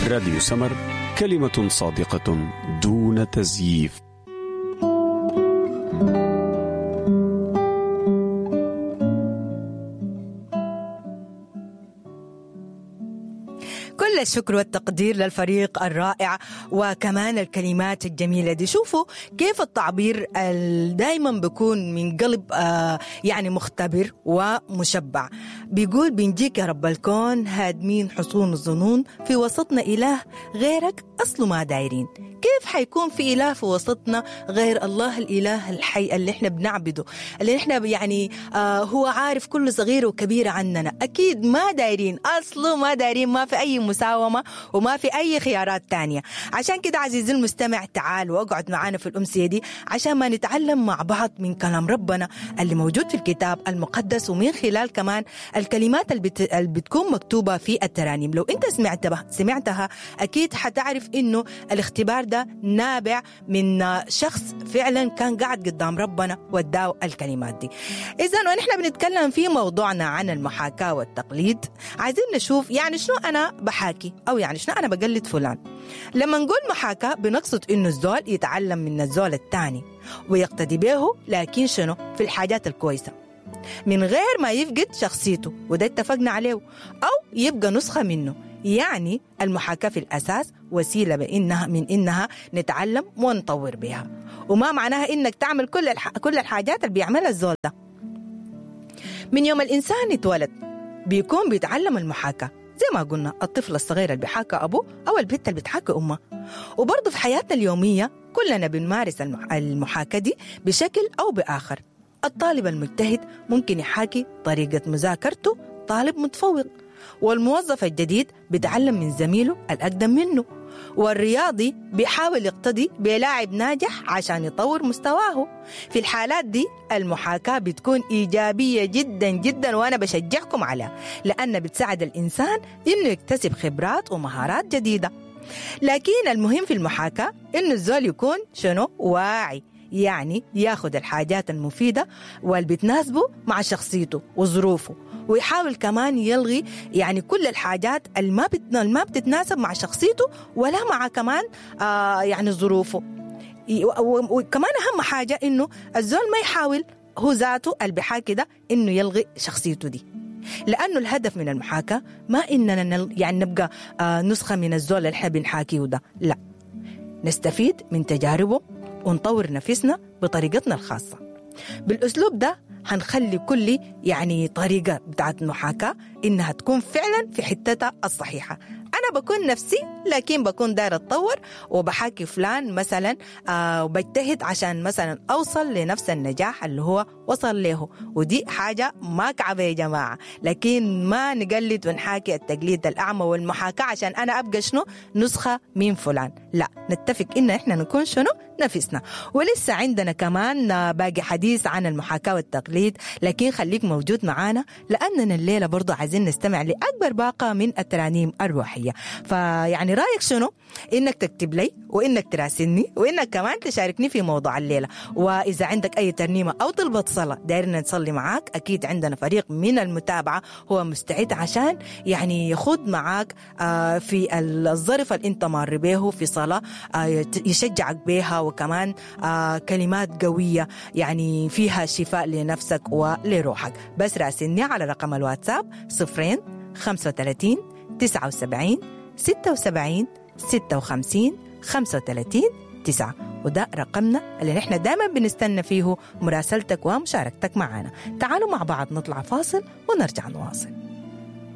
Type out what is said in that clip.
راديو سمر، كلمة صادقة دون تزييف. كل الشكر والتقدير للفريق الرائع وكمان الكلمات الجميلة دي. شوفوا كيف التعبير دايما بيكون من قلب يعني مختبر ومشبع. بيقول بنجيك يا رب الكون هادمين حصون الظنون، في وسطنا إله غيرك أصله ما دايرين. كيف حيكون في إله في وسطنا غير الله الإله الحي اللي احنا بنعبده، اللي احنا يعني هو عارف كل صغير وكبير عننا؟ أكيد ما دايرين، أصله ما دايرين، ما في أي مساومة وما في أي خيارات تانية. عشان كده عزيزي المستمع تعال واقعد معانا في الأمسية دي عشان ما نتعلم مع بعض من كلام ربنا اللي موجود في الكتاب المقدس، ومن خلال كمان الكلمات اللي بتكون مكتوبة في الترانيم. لو انت سمعتها أكيد حتعرف إنه الاختبار ده نابع من شخص فعلا كان قاعد قدام ربنا وداه الكلمات دي. إذن ونحن بنتكلم في موضوعنا عن المحاكاة والتقليد، عايزين نشوف يعني شنو أنا بحاكي أو يعني شنو أنا بقلد فلان. لما نقول محاكاة بنقصد إنه الزول يتعلم من الزول الثاني ويقتدي به، لكن شنو في الحاجات الكويسة من غير ما يفقد شخصيته، وده اتفقنا عليه، أو يبقى نسخة منه. يعني المحاكاة في الأساس وسيلة بإنها من إنها نتعلم ونطور بها، وما معناها إنك تعمل كل الحاجات اللي بيعملها الزول ده. من يوم الإنسان اتولد بيكون بيتعلم المحاكاة، زي ما قلنا الطفل الصغير اللي بيحاكى أبوه أو البنت اللي بتحاكي أمه. وبرضه في حياتنا اليومية كلنا بنمارس المحاكاة دي بشكل أو بآخر. الطالب المجتهد ممكن يحاكي طريقة مذاكرته طالب متفوق، والموظف الجديد بيتعلم من زميله الأقدم منه، والرياضي بيحاول يقتدي بلاعب ناجح عشان يطور مستواه. في الحالات دي المحاكاة بتكون إيجابية جدا جدا، وأنا بشجعكم عليها لأن بتساعد الإنسان إنه يكتسب خبرات ومهارات جديدة. لكن المهم في المحاكاة إنه الزول يكون شنو واعي، يعني ياخد الحاجات المفيدة واللي بتناسبه مع شخصيته وظروفه، ويحاول كمان يلغي يعني كل الحاجات اللي ما بتتناسب مع شخصيته ولا مع كمان يعني ظروفه. وكمان أهم حاجة إنه الزول ما يحاول هو ذاته اللي بيحاكي ده إنه يلغي شخصيته دي، لأنه الهدف من المحاكاة ما إننا يعني نبقى نسخة من الزول اللي احنا بنحاكيه ده، لا، نستفيد من تجاربه ونطور نفسنا بطريقتنا الخاصة. بالأسلوب ده هنخلي كل يعني طريقة بتاعت المحاكاة إنها تكون فعلا في حتتها الصحيحة. أنا بكون نفسي لكن بكون دايرة أتطور وبحاكي فلان مثلا وبجتهد عشان مثلا أوصل لنفس النجاح اللي هو وصل له، ودي حاجة ما كعبة يا جماعة. لكن ما نقلد ونحاكي التقليد الأعمى والمحاكاة عشان أنا أبقى شنو نسخة من فلان، لا، نتفق إن إحنا نكون شنو نفسنا. ولسه عندنا كمان باقي حديث عن المحاكاة والتقليد، لكن خليك موجود معانا لأننا الليلة برضو عايزين نستمع لأكبر باقة من الترانيم الروحية. فيعني رأيك شنو؟ إنك تكتب لي وإنك تراسلني وإنك كمان تشاركني في موضوع الليلة. وإذا عندك أي ترنيمة أو طلبة صلاة دايرنا نصلي معاك، أكيد عندنا فريق من المتابعة هو مستعد عشان يعني يخوض معاك في الظرف اللي انت مار به في صلاة يشجعك بها، وكمان كلمات قوية يعني فيها شفاء لنفسك ولروحك. بس راسلني على رقم الواتساب 0 35 79 76 56 35 9، وده رقمنا اللي نحن دائما بنستنى فيه مراسلتك ومشاركتك معنا. تعالوا مع بعض نطلع فاصل ونرجع نواصل.